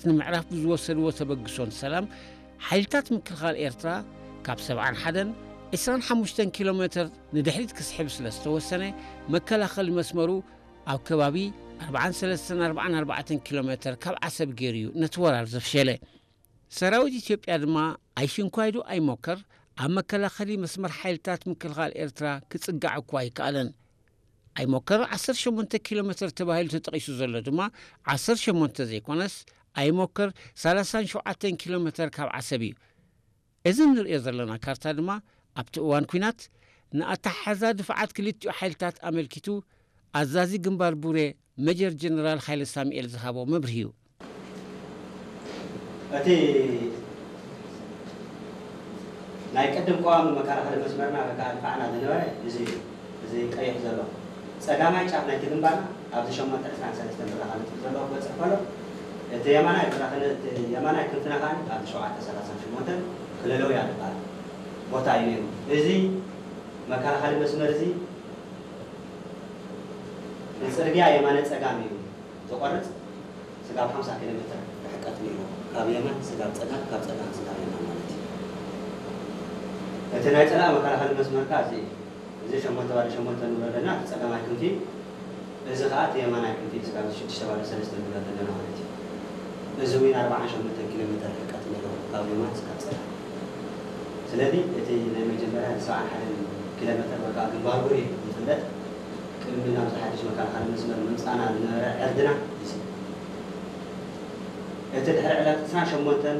ንምዕራፍ ብዝወሰድዎ ተበግሶን ሰላም፣ ሓይልታት ምክልኻል ኤርትራ ካብ ሰብዓን ሓደን ዕስራን ሓሙሽተን ኪሎ ሜተር ንድሕሪት ክስሕብ ስለ ዝተወሰነ፣ መከላኸሊ መስመሩ ኣብ ከባቢ ኣርብዓን ሰለስተን ኣርብዓን ኣርባዕተን ኪሎ ሜተር ካብ ዓሰብ ገይሩ እዩ ነቲ ወራር ዘፍሸለ። ሰራዊት ኢትዮጵያ ድማ ኣይሽንኳይዱ ኣይሞከር ኣብ መከላኸሊ መስመር ሓይልታት ምክልኻል ኤርትራ ክጽጋዕ እኳ ኣይከኣለን። ኣይሞከር ዓሰርተ ሸሞንተ ኪሎ ሜተር ተባሂሉ ተጠቒሱ ዘሎ ድማ ዓሰርተ ሸሞንተ ዘይኮነስ፣ ኣይሞከር ሰላሳን ሸውዓተን ኪሎ ሜተር ካብ ዓሰብ እዩ። እዚ እንርእዮ ዘለና ካርታ ድማ ኣብቲ እዋን ኲናት ንኣተሓሕዛ ድፍዓት ክልቲኡ ሓይልታት ኣመልኪቱ ኣዛዚ ግንባር ቡሬ መጀር ጀነራል ሃይለ ሳሙኤል ዝሃቦ መብርሂ እዩ። እቲ ናይ ቅድም ቀዋሚ መከላኸሊ መስመርና ወይ ከዓ ድፋዕና ዝነበረ እዚ እዩ። እዚ ቀይሕ ዘሎ ጸጋማይ ጫፍ ናይቲ ግንባርና ኣብዚ ሸሞንተ ዕስራን ሰለስተን ብራኸ ነጥቢ ዘለዎ ክበጽሕ ከሎ፣ እቲ የማናይ ብራኸ ነ- እቲ የማናይ ክንፍና ከዓ ኣብዚ ሸውዓተ ሰላሳን ሸሞንተን ክለለው እያ ዝበሃል ቦታ እዩ ነይሩ። እዚ መከላኸሊ መስመር እዚ ንጽርግያ የማነ ጸጋም እዩ ዝቆርጽ። ስጋብ ሓምሳ ኪሎ ሜትር ርሕቀት ነይሩ፣ ካብ የማን ስጋብ ጸጋም፣ ካብ ጸጋም ስጋብ የማን ማለት እዩ። እቲ ናይ ጸላኢ መከላኸሊ መስመር ከዓ እዚ እዩ። እዚ ሸሞንተ ባዶ ሸሞንተ ንብሎ ዘለና እቲ ጸጋማይ ክንፊ፣ እዚ ከዓ እቲ የማናይ ክንፊ ስጋብ ሽዱሽተ ባዶ ሰለስተ ንብሎ ዘለና ማለት እዩ። እዚ እውን ኣርብዓን ሸሞንተን ኪሎ ሜትር ርሕቀት ነይሩ ካብ የማን ስጋብ ጸጋም። ስለዚ እቲ ናይ መጀመርያ ሰብዓን ሓደን ኪሎ ሜትር ወይ ከዓ ግንባር ቡሬ ዝፍለጥ ቅድሚ ናብዚ ሓድሽ መከላኸሊ መስመር ምምፃእና ዝነበረ ዕርድና እዩ። እቲ ድሕሪ ዕለት ዕስራን ሸሞንተን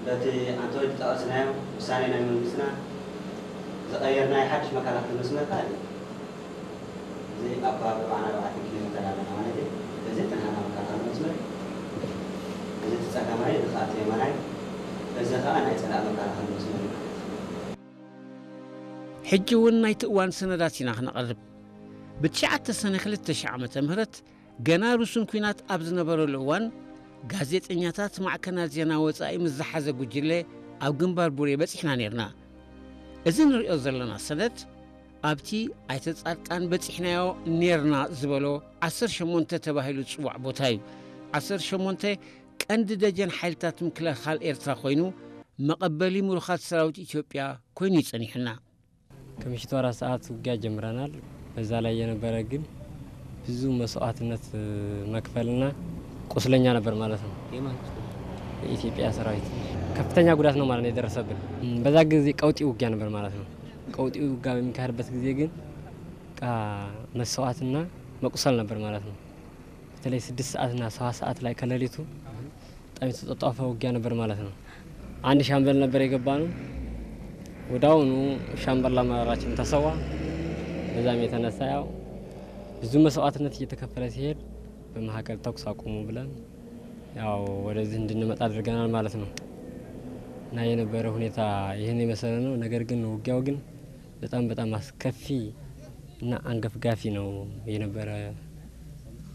በቲ ኣንቶኒ ዝጠቐስናዮ ውሳኔ ናይ መንግስትና ዝቐየርናዮ ሓድሽ መከላኸሊ መስመር ከዓ እዩ። እዚ ኣብ ከባቢ ኣርባዓን ኣርባዕተን ኪሎ ሜተር ኣለና ማለት እዩ። እዚ እቲ ናህና መከላኸሊ መስመር፣ እዚ እቲ ጸጋማይ፣ እዚ ከዓ እቲ የማናይ፣ እዚ ከዓ ናይ ጸላኢ መከላኸሊ መስመር እዩ ማለት እዩ። ሕጂ እውን ናይቲ እዋን ሰነዳት ኢና ክነቕርብ። ብትሽዓተ ሰነ ክልተ ሺሕ ዓመተ ምህረት ገና ርሱን ኲናት ኣብ ዝነበረሉ እዋን፣ ጋዜጠኛታት ማዕከናት ዜና ወጻኢ ምስ ዝሓዘ ጉጅለ ኣብ ግንባር ቡሬ በጺሕና ኔርና። እዚ ንሪኦ ዘለና ሰነድ ኣብቲ ኣይተ ጻድቃን በጺሕናዮ ኔርና ዝበሎ ዓሰርተ ሸሞንተ ተባሂሉ ዝጽዋዕ ቦታ እዩ። ዓሰርተ ሸሞንተ ቀንዲ ደጀን ሓይልታት ምክልኻል ኤርትራ ኮይኑ፣ መቐበሊ ምሩኻት ሰራዊት ኢትዮጵያ ኮይኑ እዩ ጸኒሑና። ከምሽቱ አራት ሰዓት ውጊያ ጀምረናል። በዛ ላይ የነበረ ግን ብዙ መስዋዕትነት መክፈልና ቁስለኛ ነበር ማለት ነው። የኢትዮጵያ ሰራዊት ከፍተኛ ጉዳት ነው ማለት ነው የደረሰብን። በዛ ጊዜ ቀውጢ ውጊያ ነበር ማለት ነው። ቀውጢ ውጊያ በሚካሄድበት ጊዜ ግን በቃ መስዋዕትና መቁሰል ነበር ማለት ነው። በተለይ ስድስት ሰዓትና ሰባት ሰዓት ላይ ከሌሊቱ በጣም የተጧጧፈ ውጊያ ነበር ማለት ነው። አንድ ሻምበል ነበር የገባነው። ወዲያውኑ ሻምበል አመራራችን ተሰዋ። በዛም የተነሳ ያው ብዙ መስዋዕትነት እየተከፈለ ሲሄድ በመካከል ተኩስ አቁሙ ብለን ያው ወደዚህ እንድንመጣ አድርገናል ማለት ነው። እና የነበረ ሁኔታ ይህን የመሰለ ነው። ነገር ግን ውጊያው ግን በጣም በጣም አስከፊ እና አንገፍጋፊ ነው የነበረ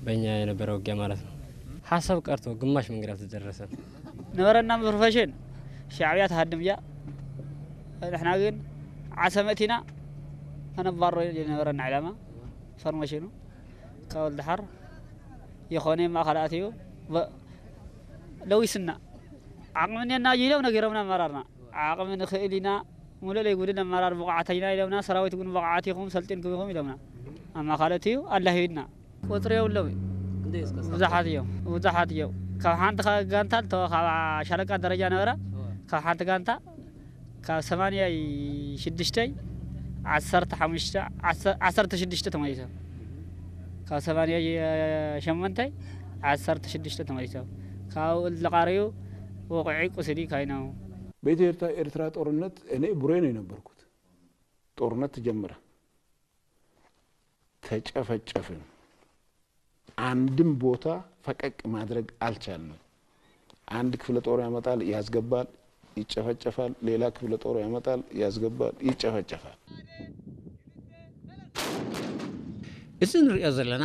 በእኛ የነበረ ውጊያ ማለት ነው። ሐሳብ ቀርቶ ግማሽ መንገድ አልተደረሰም። ነበረና ፕሮፌሽን ሻዕብያ ትሃድም እያ። ንሕና ግን ዓሰብ መእቲና ከነባሮ የነበረና ዕላማ። ፎርሜሽኑ ካብ ወልደሓር የኾነ ማእኸል ኣትዩ ለዊስና ዓቕሚ እኔና ኢሎም ነጊሮምና ኣመራርና። ዓቕሚ ንኽእል ኢና፣ ሙሉእ ለይጉድል ኣመራር ብቑዓት ኢና ኢሎምና። ሰራዊት እውን ብቑዓት ኢኹም፣ ሰልጢንኩም ኢኹም ኢሎምና። ኣማኻለቲ እዩ ኣላሂብና። ቁፅሪ የብሎም እዩ። ብዙሓት እዮም፣ ብዙሓት እዮም። ካብ ሓንቲ ካ- ጋንታ ልተወ ካብ ሻለቃ ደረጃ ነበረ። ካብ ሓንቲ ጋንታ ካብ ሰማንያ ሽዱሽተ ዓሰርተ ሓሙሽተ ዓሰርተ ሽዱሽተ ተመሊሶም። ካብ ሰማንያ ሸሞንተ ዓሰርተ ሽዱሽተ ተመሊሶም። ካብኡ ልቓረዩ ውቑዒ ቁስሊ ካይናው። በኢትዮ ኤርትራ ጦርነት እኔ ቡሬ ነው የነበርኩት። ጦርነት ተጀመረ፣ ተጨፈጨፍን። አንድም ቦታ ፈቀቅ ማድረግ አልቻልንም። አንድ ክፍለ ጦር ያመጣል፣ ያስገባል፣ ይጨፈጨፋል። ሌላ ክፍለ ጦር ያመጣል፣ ያስገባል፣ ይጨፈጨፋል። እዚ ንሪኦ ዘለና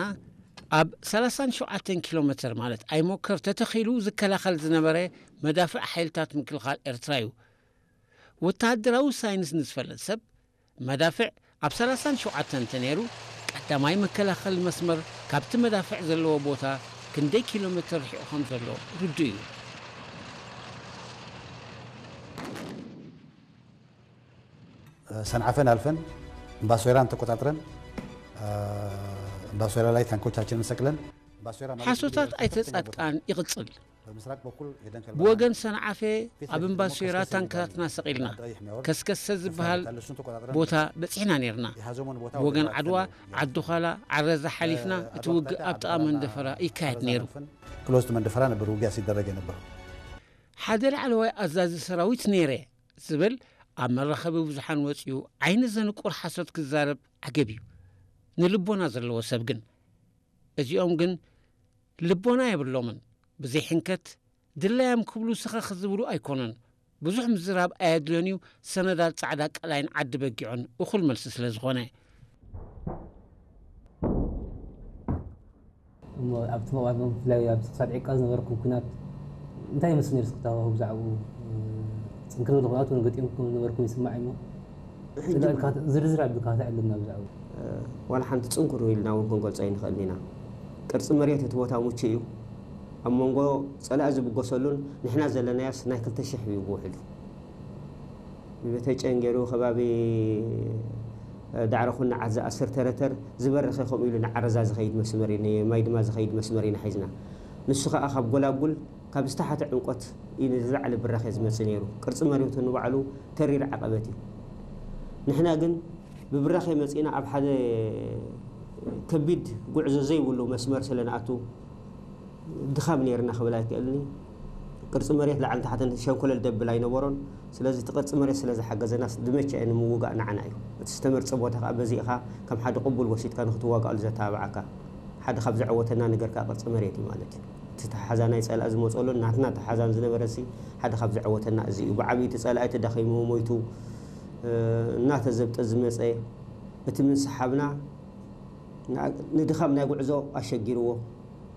ኣብ ሰላሳን ሸውዓተን ኪሎ ሜተር ማለት ኣይሞከር ተተኺሉ ዝከላኸል ዝነበረ መዳፍዕ ሓይልታት ምክልኻል ኤርትራ እዩ። ወተሃደራዊ ሳይንስ ንዝፈለጥ ሰብ መዳፍዕ ኣብ ሰላሳን ሸውዓተን እንተነይሩ ቀዳማይ መከላኸሊ መስመር ካብቲ መዳፍዕ ዘለዎ ቦታ ክንደይ ኪሎ ሜትር ርሒቑ ከም ዘሎ ርዱእ እዩ። ሰንዓፈን ኣልፈን እምባሶይራን ተቆጣጥረን እምባሶይራ ላይ ታንኮቻችንን ሰቅለን እምባሶይራ ማለት ሓሶታት እንግዲህ ኣይተ ከፍተኛ ቦታ ጻድቃን ይቕጽል። በምስራቅ በኩል ሄደን ከልባና ብወገን ሰንዓፈ ፊት ኣብ ለፊት ደግሞ እምባሶይራ ከስከሰ ታንከራትና የሚባል ሰቒልና የአጣይ የሚያወርድ ከስከሰ ዝበሃል እሱን ተቆጣጥረን ቦታ በጺሕና ነርና። የሐዞሞን ቦታ ብወገን ወደ ዓድዋ ራያ ዓዲ ዃላ ዓረዛ ሓሊፍና እቲ ውግእ ኣብ ጥቓ መንደፈራ ይካየድ ነይሩ። ክሎዝድ መንደፈራ ነበር ውጊያ ሲደረግ የነበረው። ሓደ ላዕለዋይ ኣዛዚ ሰራዊት ነይረ ዝብል ኣብ መራኸቢ ብዙሓን ወፂኡ ዓይኒ ዘንቁር ሓሶት ክዛረብ ዓገብ እዩ። ንልቦና ዘለዎ ሰብ ግን እዚኦም ግን ልቦና የብሎምን። ብዘይሕንከት ድላዮም ክብሉ ስኸኽ ዝብሉ ኣይኮኑን። ብዙሕ ምዝራብ ኣየድልዮን እዩ። ሰነዳት ፃዕዳ ቀላይን ዓዲ በጊዑን እኹል መልሲ ስለ ዝኾነ እሞ ኣብቲ መዋት ብፍላይ ኣብ ክሳድ ዕቃ ዝነበርኩም ኩናት እንታይ ይመስል ነይሩ? ስክታባሁ ብዛዕባኡ ጽንክር ዝበለ ኩናት እውን ገጢምኩም ዝነበርኩም ይስማዕ እሞ ዝርዝር ኣቢልካ ክትዕልና ብዛዕባኡ። ዋላ ሓንቲ ጽንኩር ኢልና እውን ክንገልጾ ኣይንኽእልን ኢና። ቅርጺ መሬት እቲ ቦታ ምቹእ እዩ። ኣብ መንጎ ጸላኢ ዝብገሰሉን ንሕና ዘለናዮስ ናይ ክልተ ሽሕ እዩ ብውሕዱ። ብቤተጨን ገይሩ ከባቢ ዳዕሮ ኩናዓት ዝኣስር ተረተር ዝበረኸ ከምኡ ኢሉ ንዓረዛ ዝኸይድ መስመር እዩ፣ ንማይ ድማ ዝኸይድ መስመር ኢና ሒዝና። ንሱ ከዓ ካብ ጎላጉል ካብ ዝተሓተ ዕምቆት እዩ ንዝለዓለ ብራኸ ዝመፅእ ነይሩ። ቅርፂ መሬቱ ንባዕሉ ተሪር ዓቐበት እዩ። ንሕና ግን ብብራኸ መፂእና ኣብ ሓደ ከቢድ ጉዕዞ ዘይብሉ መስመር ስለ ንኣቱ ድኻም ነይርና ክብል ኣይክእልን እዩ። ቅርፂ መሬት ላዕልን ታሕትን ሸንኮለል ደብል ኣይነበሮን። ስለዚ እቲ ቅርፂ መሬት ስለ ዝሓገዘና ዝመቸአ ንምውጋእ ንዓና እዩ። እቲ ዝተመርፀ ቦታ ከዓ በዚእኻ ከም ሓደ ቅቡል ወሲድካ ንክትዋጋኣሉ ዘተባብዓካ ሓደ ካብ ዘዕወተና ነገር ከዓ ቅርፂ መሬት እዩ ማለት እዩ። እቲ ተሓዛ ናይ ፀላኢ ዝመፀሉን ናትና ተሓዛን ዝነበረ ሲ ሓደ ካብ ዘዕወተና እዚ እዩ። ብዓብዩ እቲ ፀላኢ ተዳኺሙ ሞይቱ እናተዘብጠ ዝመፀ እቲ ምንስሓብና ንድኻም ናይ ጉዕዞ ኣሸጊርዎ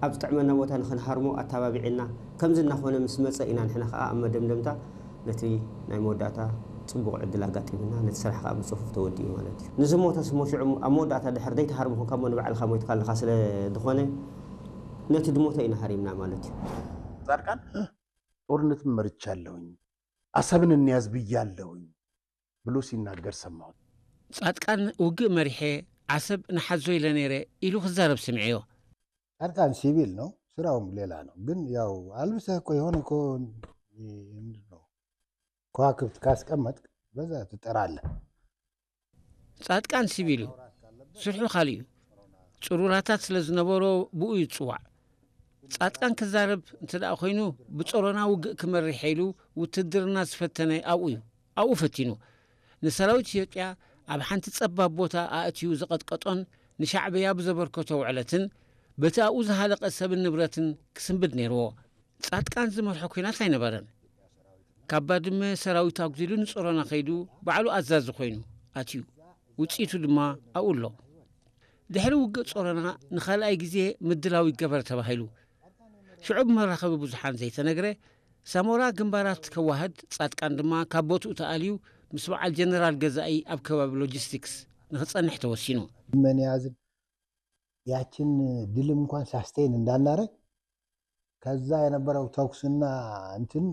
ኣብ ዝጥዕመና ቦታ ንኽንሃርሞ ኣተባቢዕና ከምዚ እናኾነ ምስ መፀ ኢና ንሕና ከዓ ኣብ መደምደምታ ነቲ ናይ መወዳእታ ፅቡቕ ዕድል ኣጋጢምና ነቲ ስራሕ ከዓ ብፅፉፍ ተወዲኡ ማለት እዩ። ንዝሞተ ስሞ ሽዑ ኣብ መወዳእታ ድሕር ዘይትሃርሞ ኮንካ እሞ ንባዕልኻ ሞይትካ ኣለኻ ስለ ዝኾነ ነቲ ድሞተ ኢና ሃሪምና ማለት እዩ። ጻድቃን ጦርነትን መርቻለሁኝ፣ አሰብን እንያዝ ብያለሁኝ ብሎ ሲናገር ሰማሁት። ጻድቃን ውግእ መሪሐ ዓሰብ ንሓዞ ኢለ ነይረ ኢሉ ክዛረብ ስምዐዮ። ጻድቃን ሲቪል ነው፣ ስራውም ሌላ ነው። ግን ያው አልብሰህ እኮ የሆነ እኮ ምንድን ነው ከዋክብት ካስቀመጥክ በዛ ትጠራለህ። ጻድቃን ሲቪል እዩ፣ ስርሑ ካልእ እዩ። ጽሩራታት ስለ ዝነበሮ ብኡ ይጽዋዕ። ጻድቃን ክዛረብ እንተ ደኣ ኮይኑ ብጾሮና ውግእ ክመርሕ ኢሉ ውትድርና ዝፈተነ ኣብኡ እዩ። ኣብኡ ፈቲኑ። ንሰራዊት ኢትዮጵያ ኣብ ሓንቲ ጸባብ ቦታ ኣእትዩ ዘቐጥቀጦን ንሻዕብያ ብዘበርከቶ ውዕለትን በቲ ኣብኡ ዝሃለቐ ሰብን ንብረትን ክስንብድ ነይርዎ። ጻድቃን ዝመርሖ ኲናት ኣይነበረን። ካብ ባድመ ሰራዊት ኣጉዲሉ ንጾሮና ከይዱ ባዕሉ ኣዛዚ ኮይኑ ኣትዩ። ውጽኢቱ ድማ ኣብኡ ኣሎ። ድሕሪ ውግእ ጾሮና ንኻልኣይ ግዜ ምድላው ይገበር ተባሂሉ። ሽዑ ብመራኸቢ ብዙሓን ዘይተነግረ ሳሞራ ግንባራት ከዋህድ ጻድቃን ድማ ካብ ቦትኡ ተኣልዩ ምስ በዓል ጀነራል ገዛኢ ኣብ ከባቢ ሎጂስቲክስ ንኽጸንሕ ተወሲኑ። መን ያዝን ያችን ድልም እንኳን ሳስቴን እንዳናረግ ከዛ የነበረው ተኩስና እንትን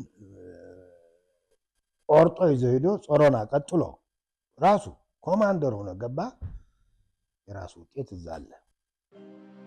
ቆርጦ ይዞ ሄዶ ጾሮና ቀጥሎ ራሱ ኮማንደር ሆኖ ገባ። የራሱ ውጤት እዛ አለ።